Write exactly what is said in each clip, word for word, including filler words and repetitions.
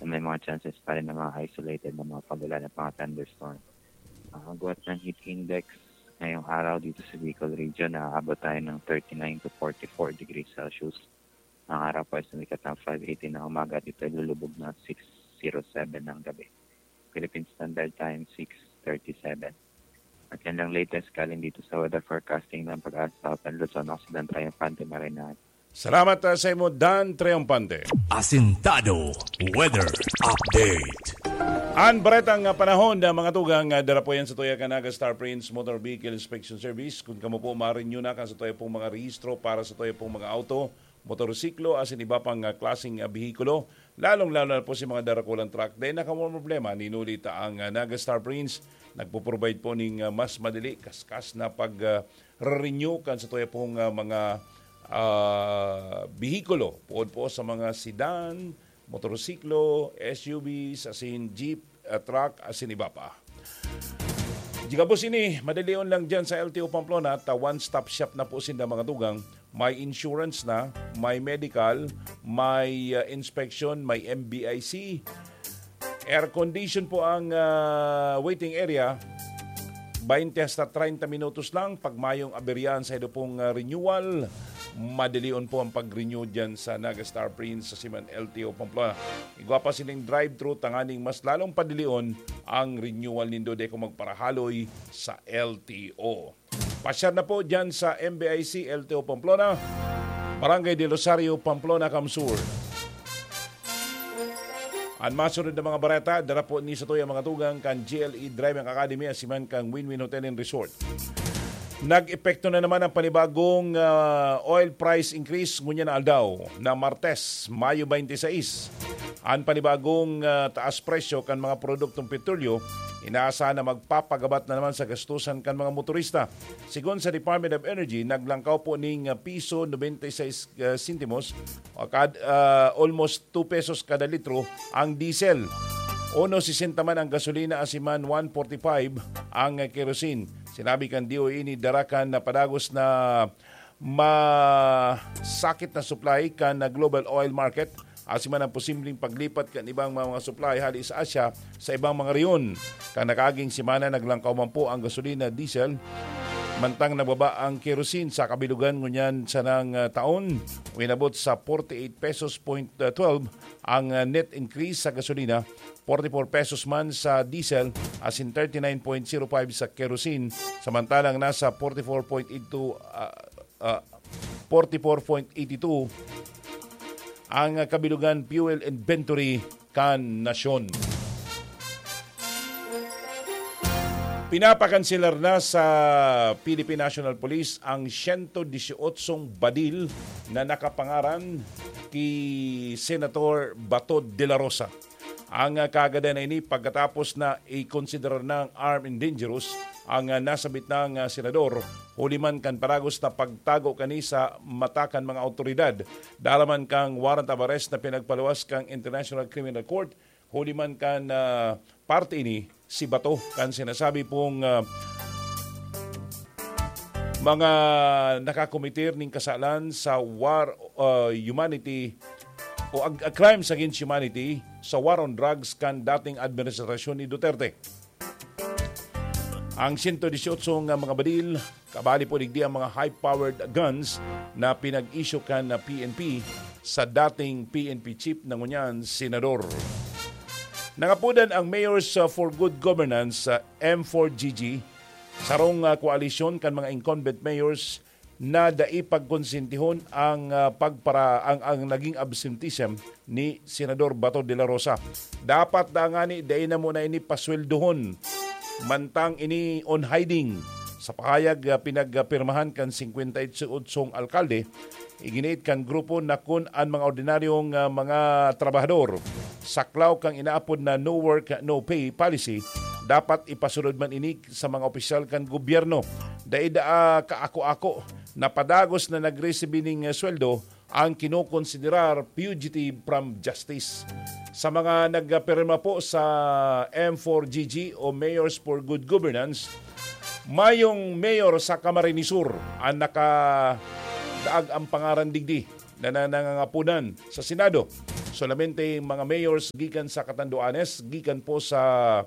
na may mga chances pa rin ng mga isolated na mga pag-ulan at mga thunderstorm. Ah, agwat ng heat index ngayong araw dito sa Bicol region, naaabot tayo ng thirty-nine to forty-four degrees Celsius. Ang araw po ay sumikat ng five eighteen ng umaga at ito ay lulubog ng six zero seven ng gabi. Philippine Standard Time, six thirty-seven. At yan lang latest galing dito sa weather forecasting ng Pag-asa Southern Luzon. Ako si Dan Triumphante Marinal. Salamat, ah, sa imo, Dan Triumphante. Asintado Weather Update. Ang baretang, ah, panahon na mga tugang, ah, dara po yan sa tuya kan Naga Star Prince Motor Vehicle Inspection Service. Kung kamo po ma-renew na kan sa tuya pong mga rehistro para sa tuya pong mga auto, motorsiklo, asin iba pang, ah, klaseng, ah, behikulo, lalong-lalo na po si mga darakulang truck, dahil nakamamroblema, ninuli ta ang, ah, Naga Star Prince. Nagpo-provide po ning, ah, mas madali, kaskas na pag, ah, re-renew kan sa tuya pong, ah, mga, ah, behikulo. Puod po sa mga sedan, motorsiklo, S U Vs, asin jeep, ah, truck, asin iba pa. Di gabos ini, madalion lang dyan sa L T O Pamplona, ta one-stop shop na po sinda mga tugang. May insurance na, may medical, may, ah, inspection, may M B I C. Air condition po ang, ah, waiting area. Twenty hasta treinta minutos lang. Pag mayong aberyahan sa ido pong, ah, renewal, madalion po ang pag-renew dyan sa Naga Star Prince sa Siman L T O Pamplona. Igwa pa sining drive-thru tanganing mas lalong padalion ang renewal nindo, di ko magparahaloy sa L T O. Pasyar na po dyan sa M B I C L T O Pamplona, Barangay del Rosario, Pamplona, Camsur. An masunod na mga bareta, dara po ni sa tuya mga tugang kan G L E Driving Academy, asiman kan Win-Win Hotel and Resort. Nag-epekto na naman ang panibagong, ah, oil price increase ngunyan na aldaw na Martes, Mayo twenty-six. An panibagong, ah, taas presyo kan mga produktong petrolyo, inaasahan na magpapagabat na naman sa gastusan kan mga motorista. Sigon sa Department of Energy, naglangkaw po ning, ah, piso ninety-six, ah, sentimos o kad-, ah, almost two pesos kada litro ang diesel. Uno sesenta man ang gasolina, asiman one forty-five ang kerosene. Sinabi kan D O E ini dara kan napadagos na masakit na supply kan global oil market, asiman ang posibleng paglipat kan ibang mga, mga supply hali sa Asia sa ibang mga rehiyon. Kan nakaaging semana, naglangkaw man po ang gasolina, diesel, mantang nababa ang kerosene sa kabilugan ngunyan sanang, ah, taon. Inabot sa forty-eight pesos point twelve ang, ah, net increase sa gasolina, forty-four pesos man sa diesel, asin thirty-nine point zero five sa kerosene, samantalang nasa forty-four point eight two, ah, ah, forty-four point eight two ang, ah, kabilugan fuel inventory kan nasyon. Pinapakanselar na sa Philippine National Police ang siyento disyotso badil na nakapangaran ki Senator Bato de la Rosa. Ang, ah, kaagadan na ini pagkatapos na ikonsiderar nang armed and dangerous ang, ah, nasabit nang, ah, senador, huli man kan padagos na pagtago kani sa mata kan mga awtoridad. Dara man kan warrant of arrest na pinagpaluwas kan International Criminal Court, huli man kan, ah, parte ini si Bato kan sinasabi pong, ah, mga nakakometer ning kasalan sa war, ah, humanity o ag-, ah, crimes against humanity sa war on drugs kan dating administrasyon ni Duterte. Ang siyento disyotso nga mga badil, kabali po digdi ang mga high-powered guns na pinag-issue kan na P N P sa dating P N P chief na ngunyan senador. Nangapodan ang Mayors, uh, for Good Governance, uh, M four G G, sarong, uh, koalisyon kan mga incumbent mayors na dai pagkonsentihon ang, ah, pagpara-, ang, ang naging absenteeism ni Senador Bato de la Rosa. Dapat na ngani dai na muna ini pasweldohon, mantang ini on hiding. Sa pahayag, ah, pinagpirmahan kan singkwenta y otsong alkalde, iginiit kan grupo na kun an mga ordinaryong, ah, mga trabahador saklaw kan inaapod na no work, no pay policy, dapat ipasunod man ini sa mga opisyal kan gobyerno. Dai daa kaako-ako na padagos na nagresibi ning, eh, sweldo ang kinokonsiderar fugitive from justice. Sa mga nagpirma po sa M four G G o Mayors for Good Governance, mayong mayor sa Camarines Sur ang nakadaag ang pangaran digdi na, na nangangaponan sa Senado. Solamente mga mayors gikan sa Catanduanes, gikan po sa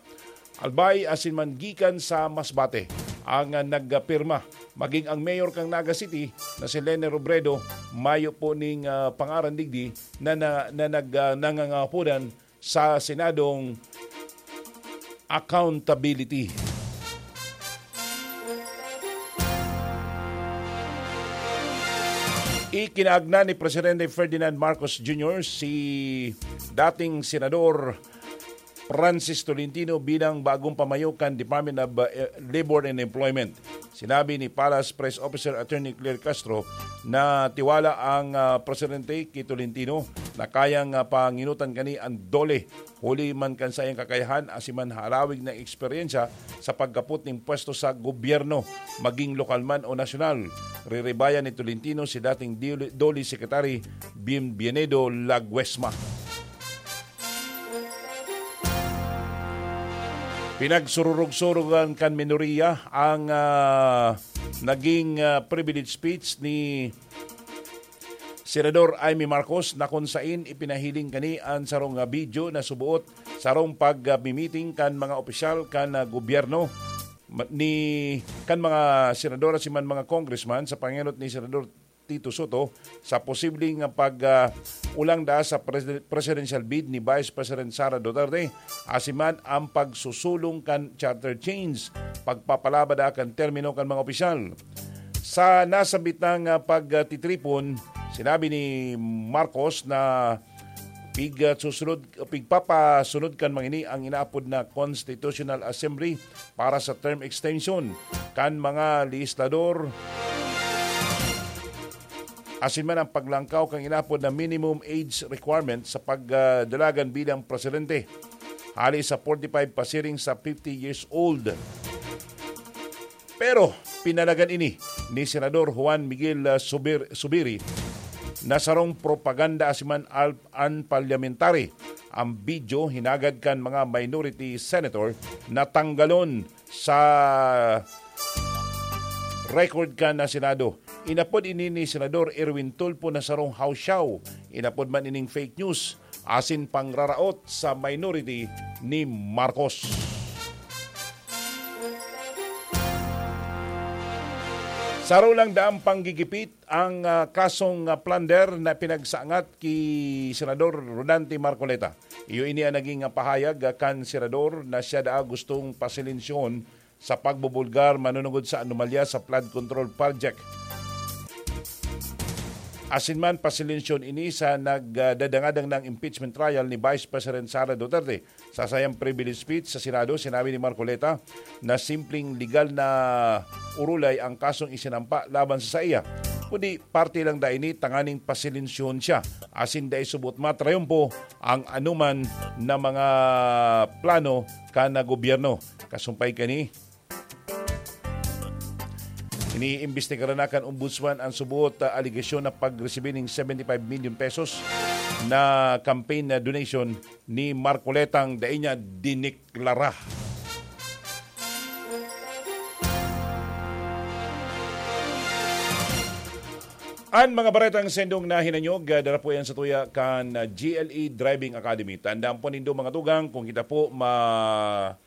Albay, asin man gikan sa Masbate ang, ah, nagpirma. Maging ang mayor kan Naga City na si Lene Robredo, mayo po ning, ah, pangaran digdi na, na, na nag, ah, nangangapodan sa Senadong accountability. Ikinaagna ni Presidente Ferdinand Marcos Junior si dating Senador Francis Tolentino bilang bagong pamayo kan Department of, uh, Labor and Employment. Sinabi ni Palace Press Officer Attorney Claire Castro na tiwala ang, ah, presidente ki Tolentino na kayang, ah, panginutan kani an DOLE, huli man kan saiyang kakayahan asin man halawig na eksperyensya sa pagkapot nin pwesto sa gobyerno, maging lokal man o nasyonal. Riribayan ni Tolentino si dating DOLE, DOLE Secretary Bienvenido Laguesma. Pinagsururog-surugan kan minoriya ang, ah, naging, ah, privilege speech ni Senador Imee Marcos na kun sain ipinahiling kani an sarong, ah, video na suboot sarong pagmimiting kan mga opisyal kan, ah, gobyerno ma-, ni, kan mga senador asin man mga congressman sa pangenot ni Senador Tito Sotto sa posibleng pag, ah, ulang daa sa presi-, presidential bid ni Vice President Sara Duterte, asin man ang pagsusulong kan charter change, pagpapalaba daa kan termino kan mga opisyal. Sa nasambit nang, ah, pagtitripon, sinabi ni Marcos na pig, ah, susunod, pigpapasunod kan mga ini ang inaapod na Constitutional Assembly para sa term extension kan mga legislador, asin man ang paglangkaw kan inapod na minimum age requirement sa pagdalagan bilang presidente, hali sa forty-five pasiring sa fifty years old. Pero pinalagan ini ni Senador Juan Miguel, ah, Subir-, Subiri na sarong propaganda asin man al-, unparliamentary. Ang video hinagad kan mga minority senator na tanggalon sa record kan na Senado. Inapod ini ni Senador Erwin Tulfo na sarong hawsyaw. Inapod man ining fake news asin pangraraot sa minority ni Marcos. Saro lang daang panggigipit ang, ah, kasong, ah, plunder na pinagsangat ki Senador Rodante Marcoleta. Iyo ini ang naging, ah, pahayag, ah, kan senador na siya daa gustong pasilensyahon sa pagbubulgar manunungod sa anomalya sa flood control project. Asin man, pasilensyahon ini sa nagdadangadang na impeachment trial ni Vice President Sara Duterte. Sa sayang privilege speech sa Senado, sinabi ni Marcoleta na simpleng legal na orolay ang kasong isinampa laban sa saiya, kundi parte lang daa ini tanganing pasilensyahon siya, asin dai subot matrayumpo ang anoman na mga plano kan gobyerno. Kasumpay kani, iniimbestigaran na kan Ombudsman ang subot, ah, alegasyon na pagresibi ning seventy-five million pesos na campaign na donation ni Marcoletang dai niya diniklara. An mga baretang sendong na hinanyog, ah, dara po yan sa tuya kan, ah, G L E Driving Academy. Tandaan po nindo, mga tugang, kung kita po ma-,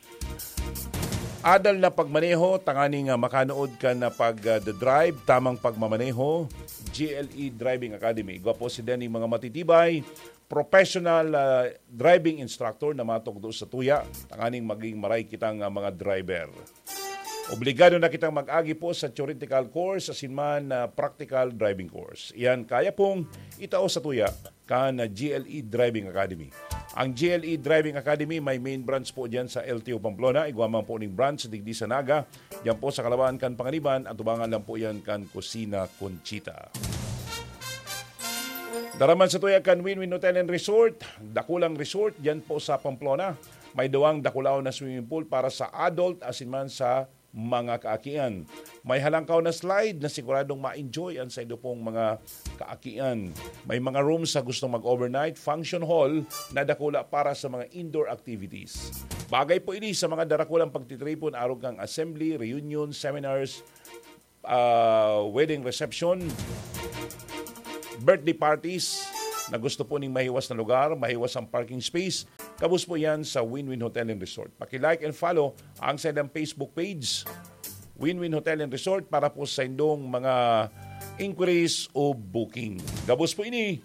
adal na pagmaneho, tanganing, ah, makanood ka na pag, ah, drive, tamang pagmamaneho, G L E Driving Academy. Igwa po sila ning mga matitibay, professional, ah, driving instructor na matugdo sa tuya, tanganing maging maray kitang, ah, mga driver. Obligado na kitang mag-agi po sa theoretical course asin man, ah, practical driving course. Iyan kaya pong itao sa tuya kan G L E Driving Academy. Ang G L E Driving Academy may main branch po diyan sa L T O Pamplona. Igwa man po ning branch digdi sa Naga. Diyan po sa Kalawaan kan Panganiban, atubangan lang po yan kan Kusina Conchita. Daraman sa tuya kan Win-Win Hotel and Resort, dakulang resort diyan po sa Pamplona. May duwang dakulaon na swimming pool para sa adult asin man sa mga kaakian. May halangkaw na slide na siguradong ma-enjoy ang saindo pong mga kaakian. May mga rooms sa gustong mag-overnight, function hall na dakula para sa mga indoor activities. Bagay po ini sa mga darakulang pagtitripon, arog kan assembly, reunion, seminars, ah, wedding reception, birthday parties, na gusto po ning mahiwas na lugar, mahiwas ang parking space, gabos po yan sa Win-Win Hotel and Resort. Paki-like and follow ang sa ilang Facebook page, Win-Win Hotel and Resort, para po sa indong mga inquiries o booking. Gabos po ini,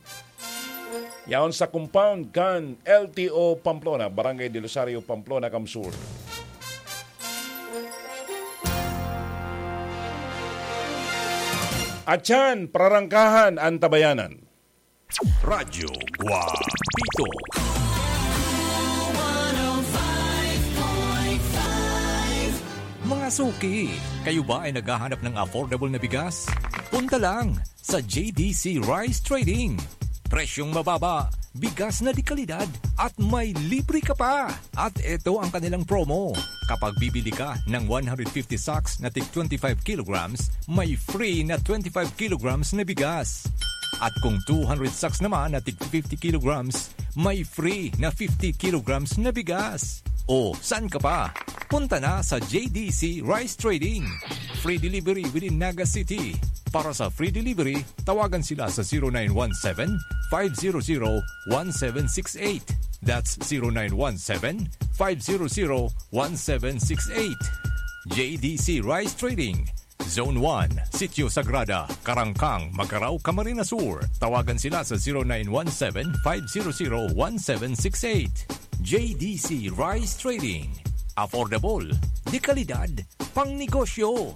yaon sa compound kan L T O Pamplona, Barangay Del Rosario, Pamplona, Camsur. At yan, prarangkahan ang tabayanan. Radyo Guapito. Mga suki, kayo ba ay naghahanap ng affordable na bigas? Punta lang sa J D C Rice Trading. Presyong mababa, bigas na de kalidad, at may libre ka pa! At ito ang kanilang promo. Kapag bibili ka ng one hundred fifty sacks na tig twenty-five kilograms, may free na twenty-five kilograms na bigas. At kung two hundred sacks naman na tig fifty kilograms, may free na fifty kilograms na bigas. O, saan ka pa? Punta na sa J D C Rice Trading. Free delivery within Naga City. Para sa free delivery, tawagan sila sa zero nine one seven, five zero zero, one seven six eight. That's zero nine one seven, five zero zero, one seven six eight. J D C Rice Trading, Zone one, Sitio Sagrada, Karangkang, Magarao, Camarines Sur. Tawagan sila sa zero nine one seven, five zero zero, one seven six eight. J D C Rice Trading. Affordable, de kalidad, pang negosyo.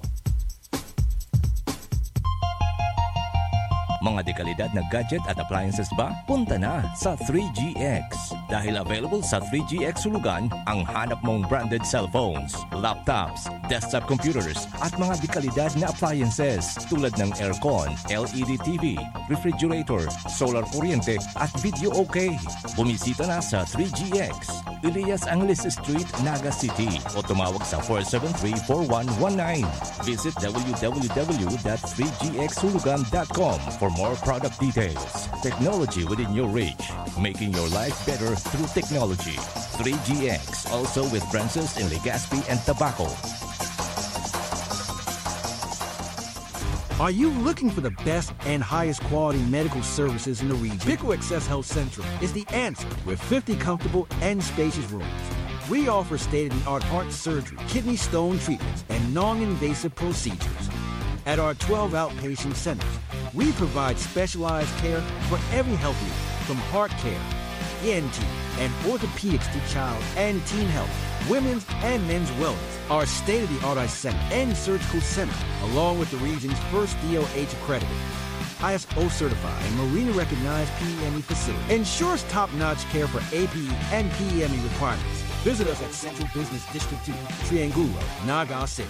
Mga dekalidad na gadget at appliances ba? Punta na sa three G X. Dahil available sa three G X Hulugan ang hanap mong branded cellphones, laptops, desktop computers, at mga dekalidad na appliances tulad ng aircon, L E D T V, refrigerator, solar kuryente, at video okay. Bumisita na sa three G X, Elias Angeles Street, Naga City, o tumawag sa four seven three, four one one nine. Visit W W W dot three G X hulugan dot com for more product details. Technology within your reach, making your life better through technology. Three G X, also with branches in Legazpi and Tabaco. Are you looking for the best and highest quality medical services in the region? Pico Access Health Central is the answer with fifty comfortable and spacious rooms. We offer state-of-the-art heart surgery, kidney stone treatments, and non-invasive procedures. At our twelve outpatient centers, we provide specialized care for every health need, from heart care, E N T, and orthopedics to child and teen health, women's and men's wellness. Our state-of-the-art eye center and surgical center, along with the region's first D O H accredited, I S O certified, and Marina recognized P E M E facility, ensures top-notch care for A P E and P E M E requirements. Visit us at Central Business District two, Triangulo, Naga City.